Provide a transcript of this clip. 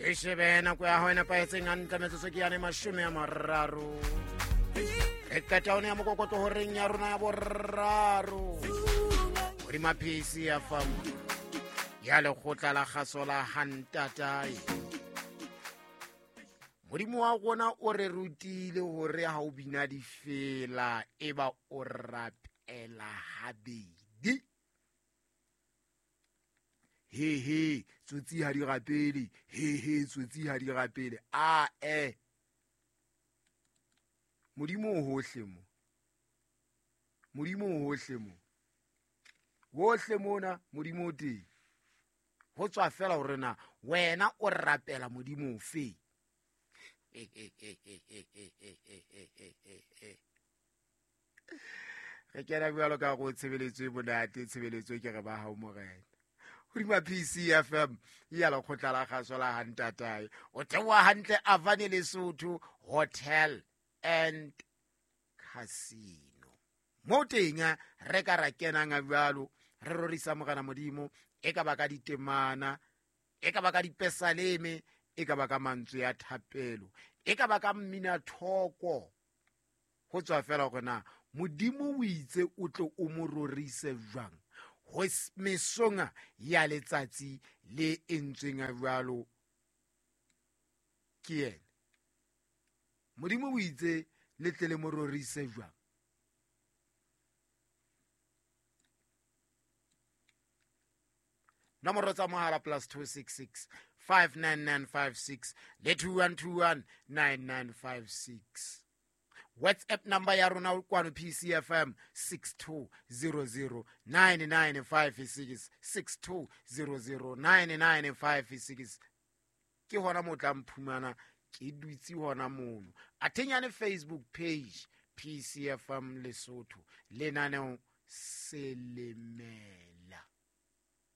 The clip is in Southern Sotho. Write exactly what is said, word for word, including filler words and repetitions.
Re shebe nako ya hao e nepahetseng hantle metsotso ke yane mashome a mararo. Re qeta one ya mokokotlo horeng ya rona ya boraro. Hodima P C F M ya lekgotla la kgaso la Hantatae. Modimo wa rona o re rutile hore ha o bina difela e ba o rapela habedi. He he tsotsi ha di rapele, he he tsotsi ha di rapele. A e Modimo o hohle mo. Modimo o hohle mo. Hohle mona Modimo o teng. Ho tswa fela hore na wena o rapela Modimo ofe. Re kena jwalo ka go tshebeletso e monate, tshebeletso ke re ba hao morena. Hodima P C F M ya lekgotla la kgaso la Hantatae. O theoha hantle Avane Lesotho Hotel and Casino. Mo teng re ka ra kenang jwalo re rorisa morena Modimo, e ka ba ka ditemana, e ka ba ka dipesaleme, e ka ba ka mantswe ya thapelo, e ka ba ka mmina thoko. Ho tswa fela hore na Modimo o itse o tle o mo rorise jwang ho mesonga ya letsatsi le entsweng jwalo ke yena. Modimo o itse le tle le mo rorise jwang. Nomoro tsa mohala plus two six six five nine nine five six le two one two one nine nine five six. WhatsApp number ya rona kwano P C F M six two zero zero nine nine five six, six two zero zero nine nine five six. Ke hona mo tla mphumana ke dutse hona mono. Athenyane Facebook page P C F M Lesotho lenaneo Selemela.